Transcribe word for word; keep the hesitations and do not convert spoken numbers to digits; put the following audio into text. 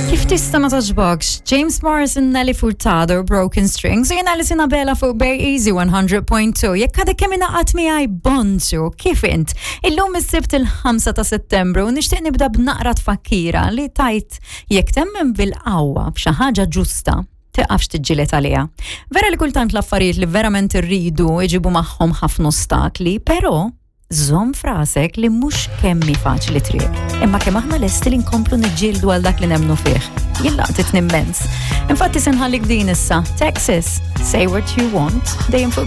Kif tista' ma togħġbokx? James Morrison, Nelly Furtado, Broken Strings, u jiena Alison Abela fuq Bay Easy one hundred point two. Jekk għadek kemm ingħaqadt miegħi, bonġu, kif int? Illum is-Sibt il-ħamsa ta' Settembru u nixtieq nibda b'naqra tfakkira li tajt jekk temmen bil-qawwa b'xi ħaġa ġusta, tiqafx tiġġieled għaliha. Vera li kultant l-affarijiet li verament irridu iġibu magħhom ħafna ostakli, però żomm f'rasek li mhux kemm hi faċli triq, imma kemm aħna lesti li nkomplu niġġieldu għal dak li nemmnu fih. Jien laqtitni immens. Infatti se nħallik din issa, Texas, Say What You Want, dejjem fuq